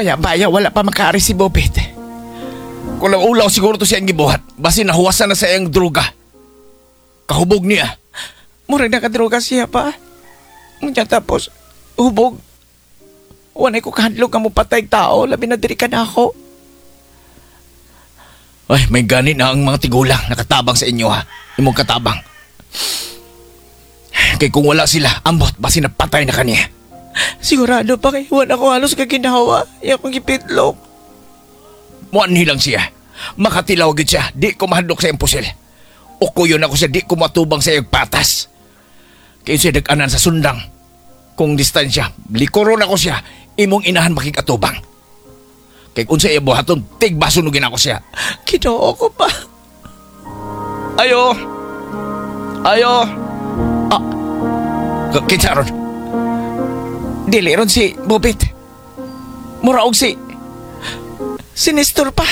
Baya-baya wala pa makaari si Bobit. Kung ulaw siguro to siyang gibuhat, basin nahuwasan na sa iyang droga. Kahubog niya. Murag nakadroga siya pa. Ngunyan tapos, hubog. Wanay ko kahadlok nga mopatay tao, labi na diri ka na ako. Ay, may gani na ang mga tigulang nakatabang sa inyo ha. Imong katabang. Kay kung wala sila, ambot, basin napatay na kaniya. Sigurado pa kay wala ko halos kaginawa. Iya kong gipitlok. Muanhi lang siya. Makatilaw gid siya. Di ko mahadlok sa iyang pusil. Ukuyon ako siya, di ko matubang sa iyang patas. Kaya siya dag-anan sa sundang. Kung distansya, likuron ako siya, imong inahan makikatubang. Kay kung sa iya buhaton, tigbasunugin ako siya. Kinoo ko pa. Ayo! Ayo! Ah! Kinsa ron? Dili ron si Bobit. Mura og si Nestor pa.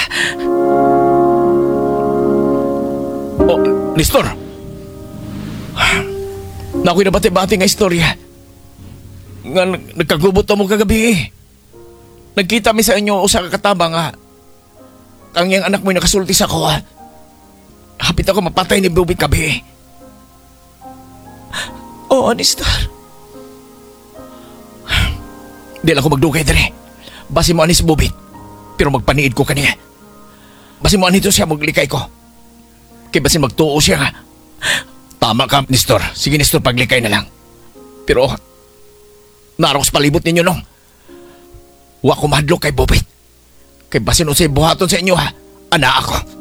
Oh, Nestor! Nakoy nabati-bati nga istorya. Nga nagkagubot na mo kagabi eh. Nagkita mi sa inyo usa ka kataba nga kang iyang anak mo'y nakasulti sa ko. Hapit ako mapatay ni Bobit gabi eh. Oo, Nestor. Di lang ko magdugay dire. Basi mo anis Bobit. Pero magpaniid ko kaniya. Basi mo anito siya maglikay ko. Kay basin magtuo siya nga. Tama ka, Nestor. Sige, Nestor, paglikay na lang. Pero, narok sa palibot ninyo nung. Wa ko mahadlok kay Bobit. Kay basin unsay buhaton sa inyo ha. Ana ako.